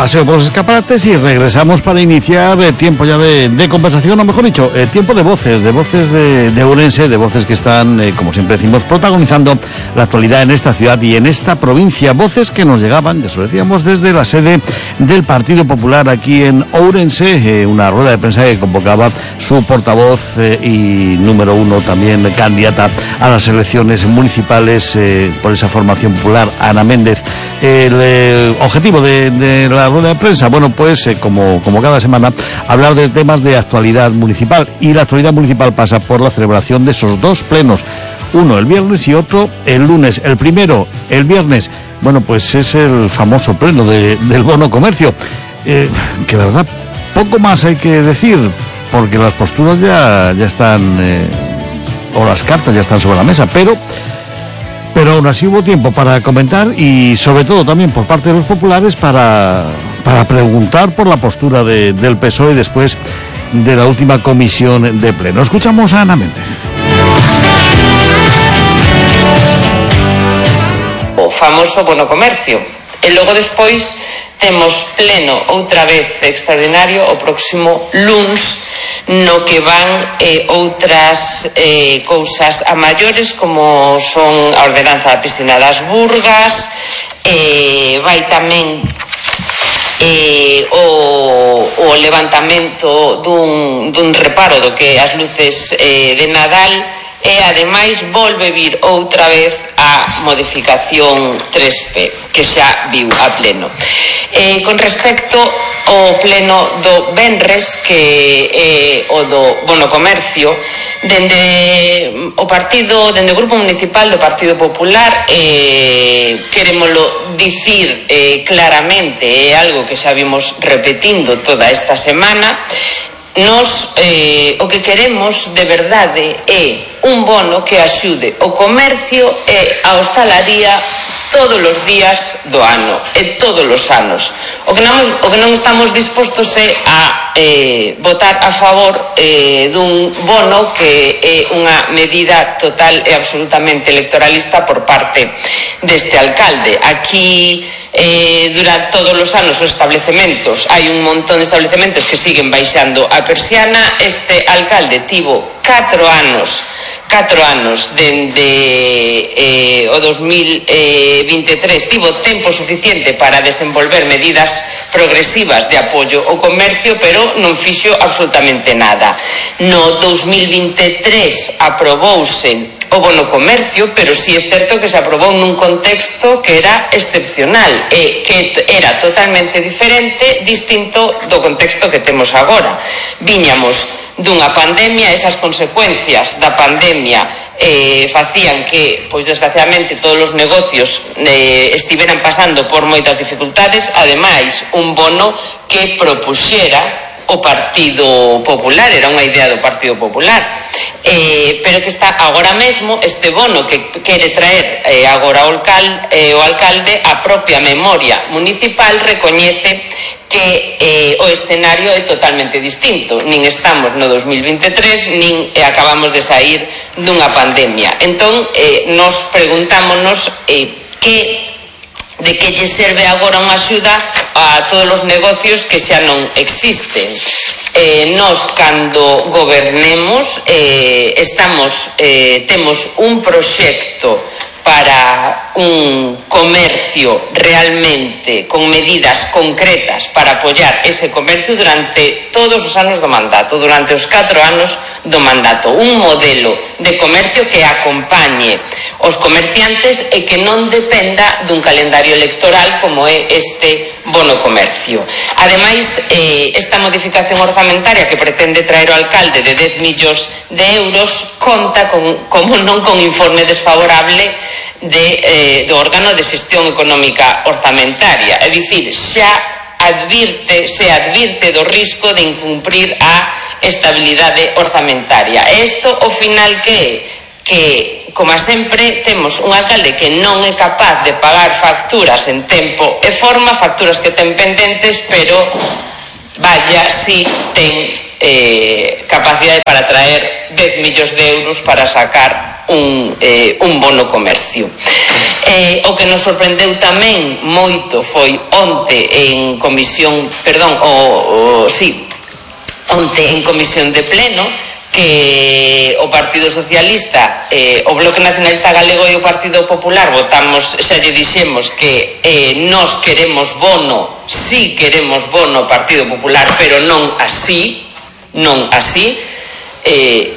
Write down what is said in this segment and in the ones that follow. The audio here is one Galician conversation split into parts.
paseo por los escaparates y regresamos para iniciar tiempo ya de conversación, o mejor dicho, tiempo de voces de Ourense, de voces que están, como siempre decimos, protagonizando la actualidad en esta ciudad y en esta provincia. Voces que nos llegaban, ya lo decíamos, desde la sede del Partido Popular aquí en Ourense, una rueda de prensa que convocaba su portavoz y número uno también candidata a las elecciones municipales por esa formación popular, Ana Méndez. El objetivo de la rueda de prensa, bueno, pues como cada semana, hablar de temas de actualidad municipal, y la actualidad municipal pasa por la celebración de esos dos plenos, uno el viernes y otro el lunes. El primero, el viernes, bueno, pues es el famoso pleno del bono comercio, que la verdad poco más hay que decir, porque las posturas ya están, o las cartas ya están sobre la mesa, pero aún así hubo tiempo para comentar y sobre todo también por parte de los populares para preguntar por la postura del PSOE después de la última comisión de pleno. Escuchamos a Ana Méndez. O famoso bono comercio. E logo despois temos pleno outra vez extraordinario o próximo luns, no que van outras cousas a maiores, como son a ordenanza da piscina das Burgas, vai tamén o levantamento dun reparo do que as luces de Nadal, e ademais volve vir outra vez a modificación 3P, que xa viu a pleno. Con respecto ao pleno do venres, que é o do bono comercio, dende o Grupo Municipal do Partido Popular, querémolo dicir claramente, é algo que xa vimos repetindo toda esta semana. Nos o que queremos de verdade é un bono que axude o comercio e a hostalaría todos os días do ano e todos os anos. O que non estamos dispostos é a votar a favor dun bono que é unha medida total e absolutamente electoralista por parte deste alcalde. Aquí durante todos os anos os establecementos, hai un montón de establecementos que siguen baixando a persiana. Este alcalde tivo 4 anos dende o 2023, tivo tempo suficiente para desenvolver medidas progresivas de apoio ao comercio, pero non fixo absolutamente nada. No 2023 aprobouse o bono comercio, pero sí é certo que se aprobou nun contexto que era excepcional e que era totalmente distinto do contexto que temos agora. Viñamos dunha pandemia, esas consecuencias da pandemia facían que, pois desgraciadamente, todos os negocios estiveran pasando por moitas dificultades. Ademais, un bono que propuxera o Partido Popular, era unha idea do Partido Popular, pero que está agora mesmo, este bono que quere traer agora o alcalde, a propia memoria municipal recoñece que o escenario é totalmente distinto. Nin estamos no 2023, nin acabamos de sair dunha pandemia. Entón, nos preguntámonos de que lle serve agora unha axuda a todos os negocios que xa non existen. Nos, cando gobernemos, temos un proxecto para un comercio realmente con medidas concretas para apoiar ese comercio durante todos os anos do mandato, durante os 4 anos do mandato. Un modelo de comercio que acompañe os comerciantes e que non dependa dun calendario electoral como é este bono comercio. Ademais, esta modificación orzamentaria que pretende traer o alcalde de 10 millóns de euros conta como non con informe desfavorable do órgano de xestión económica orzamentaria, é dicir, se advirte do risco de incumprir a estabilidade orzamentaria. E isto, ao final, que como sempre, temos un alcalde que non é capaz de pagar facturas en tempo e forma, facturas que ten pendentes, pero vaya si ten capacidade para traer 10 millóns de euros para sacar un bono comercio. O que nos sorprendeu tamén moito foi onte en comisión de pleno que o Partido Socialista, o Bloque Nacionalista Galego e o Partido Popular votamos, xa lle dixemos que nós queremos bono, sí queremos bono Partido Popular, pero non así.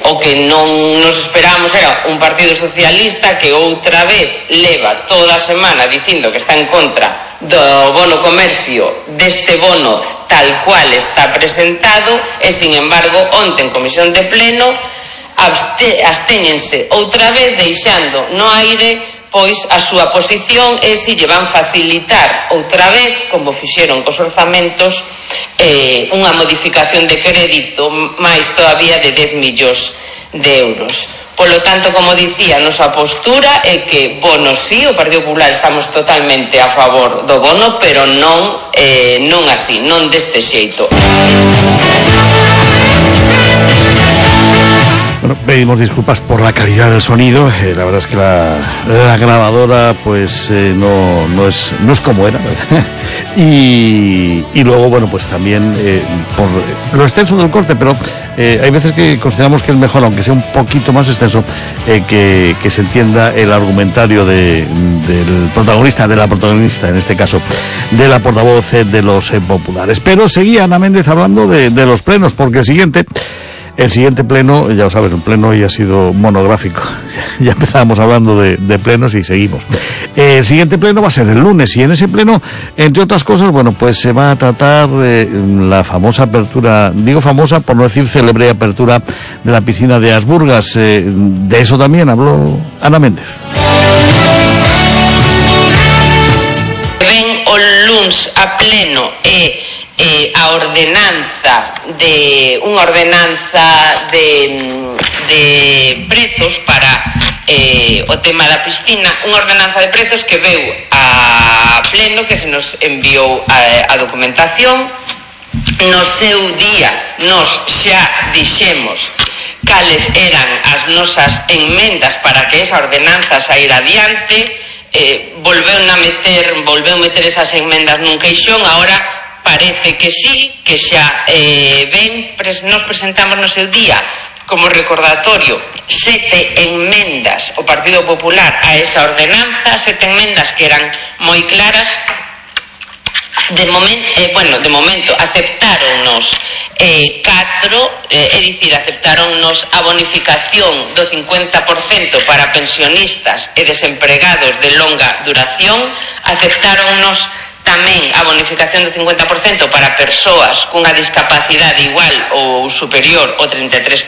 O que non nos esperábamos era un Partido Socialista que outra vez leva toda a semana dicindo que está en contra do bono comercio, deste bono tal cual está presentado, e sin embargo onte en comisión de pleno abstéñense outra vez deixando no aire pois a súa posición e se lle van facilitar outra vez, como fixeron cos orzamentos, unha modificación de crédito máis todavía de 10 millóns de euros. Polo tanto, como dicía, a nosa postura é que bono sí, o Partido Popular estamos totalmente a favor do bono, pero non así, non deste xeito. Bueno, pedimos disculpas por la calidad del sonido. La verdad es que la grabadora pues no es como era. Y luego, bueno, pues también por lo extenso del corte, pero hay veces que consideramos que es mejor, aunque sea un poquito más extenso, que se entienda el argumentario del protagonista, de la protagonista, en este caso, de la portavoz de los populares. Pero seguía Ana Méndez hablando de los plenos, porque el siguiente pleno, ya lo sabes, el pleno hoy ha sido monográfico. Ya empezábamos hablando de plenos y seguimos. El siguiente pleno va a ser el lunes, y en ese pleno, entre otras cosas, bueno, pues se va a tratar la famosa apertura, digo famosa por no decir célebre apertura de la piscina de Asburgas. De eso también habló Ana Méndez. Ven o luns a pleno a ordenanza unha ordenanza de prezos para o tema da piscina, unha ordenanza de prezos que veu a pleno, que se nos enviou a documentación. No seu día nos xa dixemos cales eran as nosas enmendas para que esa ordenanza saíra adiante. Volveu meter esas enmendas nun queixón. Ahora parece que sí, que xa nos presentamos no seu día como recordatorio 7 enmendas o Partido Popular a esa ordenanza, 7 enmendas que eran moi claras. De momento aceptáronnos 4, é dicir, aceptáronnos a bonificación do 50% para pensionistas e desempregados de longa duración, aceptáronnos tamén a bonificación do 50% para persoas cunha discapacidade igual ou superior ao 33%.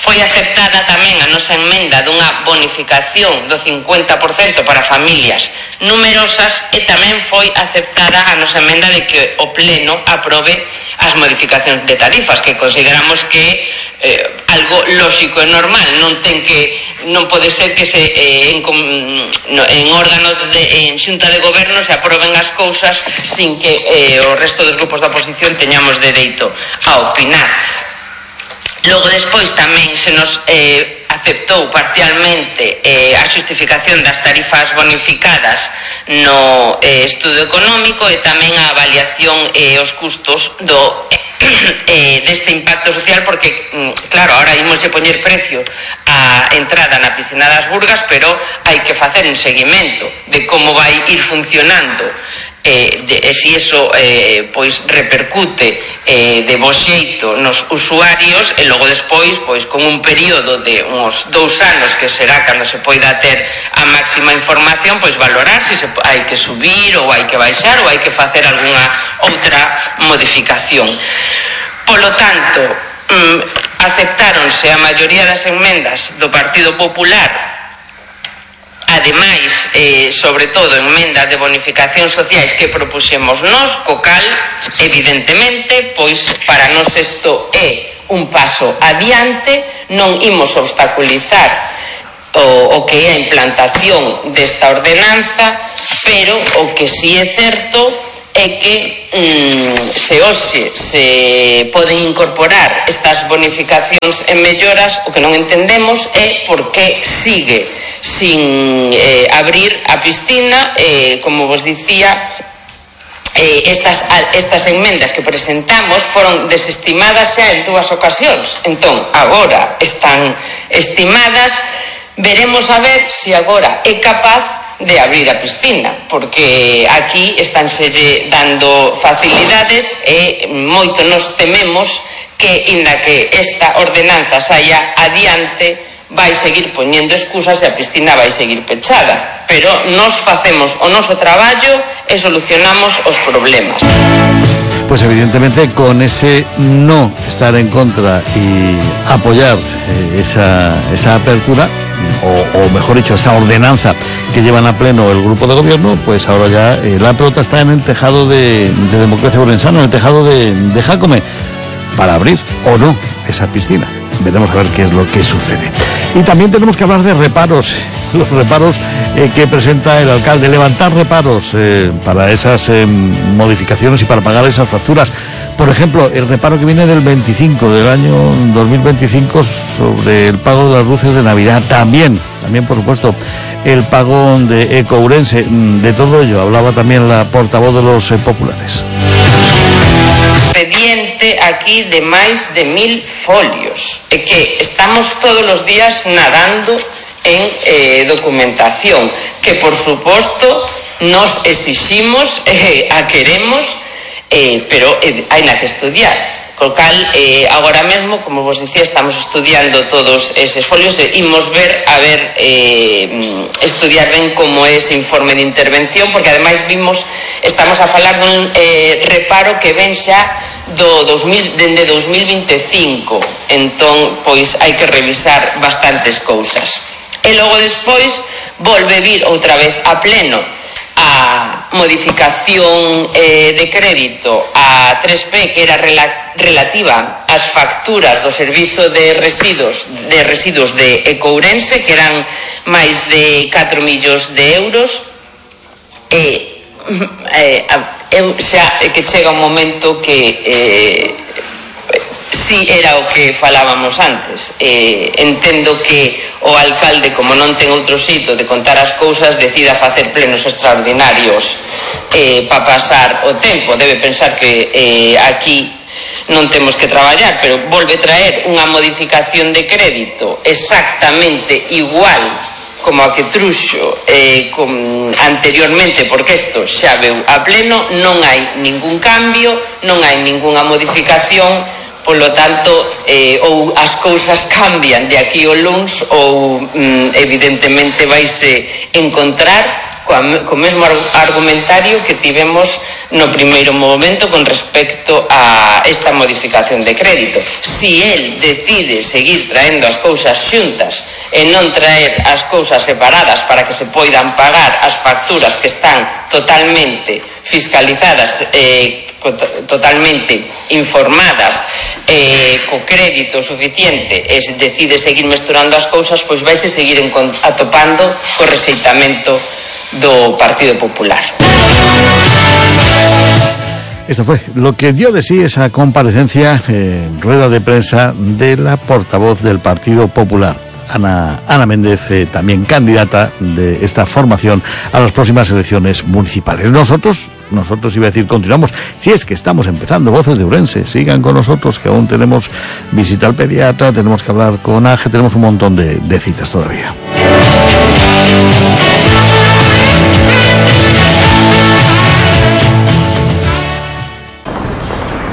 Foi aceptada tamén a nosa emenda dunha bonificación do 50% para familias numerosas, e tamén foi aceptada a nosa emenda de que o Pleno aprobe as modificacións de tarifas, que consideramos que algo lóxico e normal. Non pode ser que en órganos en xunta de goberno se aproben as cousas sin que o resto dos grupos da oposición teñamos dereito a opinar. Logo despois tamén se nos aceptou parcialmente a xustificación das tarifas bonificadas no estudo económico, e tamén a avaliación e os custos deste impacto social, porque claro, ahora imos a poñer precio a entrada na piscina das Burgas, pero hai que facer un seguimento de como vai ir funcionando, se iso pois repercute de bo xeito nos usuarios, e logo despois pois con un período de uns 2 anos, que será cando se poida ter a máxima información, pois valorar se hai que subir ou hai que baixar ou hai que facer algunha outra modificación. Polo tanto, aceptáronse a maioría das enmendas do Partido Popular. Ademais, sobre todo, enmendas de bonificación sociais que propuxemos nós, co cal, evidentemente, pois para nós isto é un paso adiante. Non imos obstaculizar o que é a implantación desta ordenanza, pero o que sí é certo é que se hoxe se poden incorporar estas bonificacións e melloras, o que non entendemos é por que sigue sin abrir a piscina. Como vos dicía, estas enmendas que presentamos foron desestimadas xa en 2 ocasións, entón agora están estimadas. Veremos a ver se agora é capaz de abrir a piscina, porque aquí estánselle dando facilidades e moito nos tememos que, inda que esta ordenanza saia adiante, vai seguir poñendo excusas e a piscina vai seguir pechada. Pero nos facemos o noso traballo e solucionamos os problemas. Pues evidentemente con ese no estar en contra y apoyar esa apertura, o mejor dicho, esa ordenanza que llevan a pleno el grupo de gobierno, pues ahora ya la pelota está en el tejado de Democracia Orensana, en el tejado de Jácome, para abrir o no esa piscina. Veremos a ver qué es lo que sucede. Y también tenemos que hablar de reparos, los reparos que presenta el alcalde, levantar reparos para esas modificaciones y para pagar esas facturas. Por ejemplo, el reparo que viene del 25, del año 2025, sobre el pago de las luces de Navidad. También por supuesto, el pago de Ecourense. De todo ello hablaba también la portavoz de los populares. Expediente aquí de máis de 1000 folios, e que estamos todos os días nadando en documentación que, por suposto, nos exiximos, a queremos, pero hai na que estudiar. Co cal, agora mesmo, como vos dicía, estamos estudiando todos eses folios e imos estudiar ben como é ese informe de intervención, porque ademais estamos a falar dun reparo que ven xa dende 2025, entón, pois, hai que revisar bastantes cousas. E logo despois volve vir outra vez a pleno a modificación de crédito a 3P, que era relativa ás facturas do servizo de residuos de Ecourense, que eran máis de 4 millóns de euros. Xa que chega un momento que si era o que falábamos antes. Entendo que o alcalde, como non ten outro xeito de contar as cousas, decida facer plenos extraordinarios para pasar o tempo. Debe pensar que aquí non temos que traballar, pero volve traer unha modificación de crédito exactamente igual como a que truxo anteriormente, porque isto xa veu a pleno, non hai ningún cambio, non hai ningunha modificación. Polo tanto, ou as cousas cambian de aquí ao luns, ou evidentemente vaise encontrar co mesmo argumentario que tivemos no primeiro momento con respecto a esta modificación de crédito. Si el decide seguir traendo as cousas xuntas e non traer as cousas separadas para que se poidan pagar as facturas que están totalmente fiscalizadas, totalmente informadas, co crédito suficiente, e decide seguir mesturando as cousas, pois vaise seguir atopando co rexeitamento do Partido Popular. Esto fue lo que dio de sí esa comparecencia, rueda de prensa de la portavoz del Partido Popular, Ana Méndez, también candidata de esta formación a las próximas elecciones municipales. Nosotros iba a decir, continuamos, si es que estamos empezando Voces de Ourense, sigan con nosotros, que aún tenemos visita al pediatra, tenemos que hablar con Ángel, tenemos un montón de citas todavía.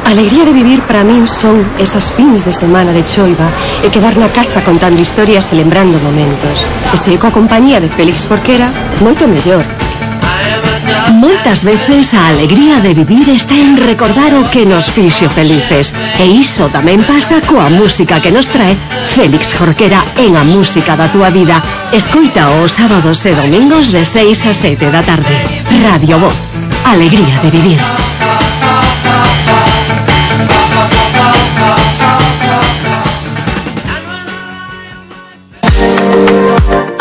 A alegría de vivir para min son esas fins de semana de choiva e quedar na casa contando historias e lembrando momentos. E se coa compañía de Félix Jorquera, moito mellor. Moitas veces a alegría de vivir está en recordar o que nos fixo felices. E iso tamén pasa coa música que nos trae Félix Jorquera en A Música da Túa Vida. Escoita os sábados e domingos de 6 a 7 da tarde. Radio Voz. Alegría de vivir.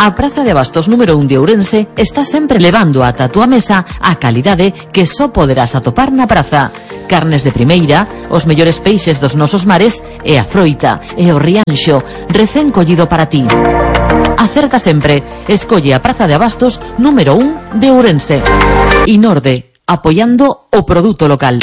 A Praza de Abastos número 1 de Ourense está sempre levando ata a túa mesa a calidade que só poderás atopar na praza. Carnes de primeira, os mellores peixes dos nosos mares e a froita e o rianxo recén collido para ti. Acerta sempre, escolle a Praza de Abastos número 1 de Ourense. Inorde, apoyando o produto local.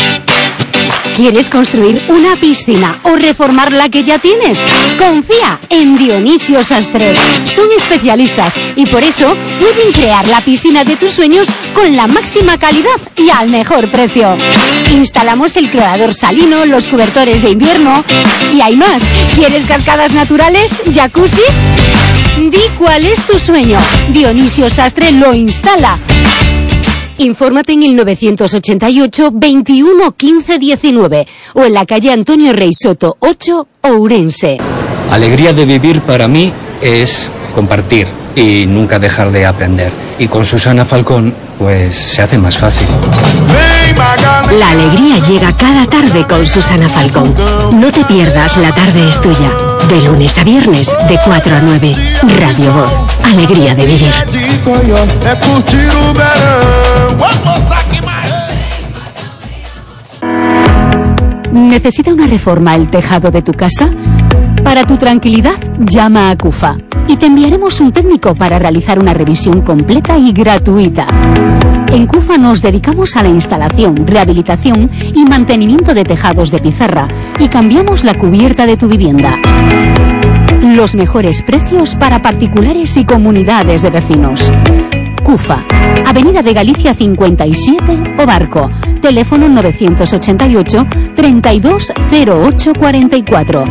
¿Quieres construir una piscina o reformar la que ya tienes? Confía en Dionisio Sastre. Son especialistas y por eso pueden crear la piscina de tus sueños con la máxima calidad y al mejor precio. Instalamos el clorador salino, los cobertores de invierno y hay más. ¿Quieres cascadas naturales? ¿Jacuzzi? Di cuál es tu sueño. Dionisio Sastre lo instala. Infórmate en el 988 21 15 19 o en la calle Antonio Rey Soto 8, Ourense. Alegría de vivir para mí es compartir y nunca dejar de aprender. Y con Susana Falcón, pues se hace más fácil. La alegría llega cada tarde con Susana Falcón. No te pierdas La Tarde es Tuya. De lunes a viernes, de 4 a 9. Radio Voz. Alegría de vivir. ¿Necesita una reforma el tejado de tu casa? Para tu tranquilidad, llama a CUFA y te enviaremos un técnico para realizar una revisión completa y gratuita. En CUFA nos dedicamos a la instalación, rehabilitación y mantenimiento de tejados de pizarra y cambiamos la cubierta de tu vivienda. Los mejores precios para particulares y comunidades de vecinos. CUFA, Avenida de Galicia 57, Obarco. Teléfono 988 320844.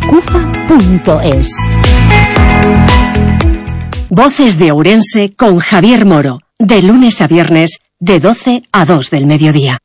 www.cufa.es. Voces de Ourense con Javier Moro. De lunes a viernes, de 12 a 2 del mediodía.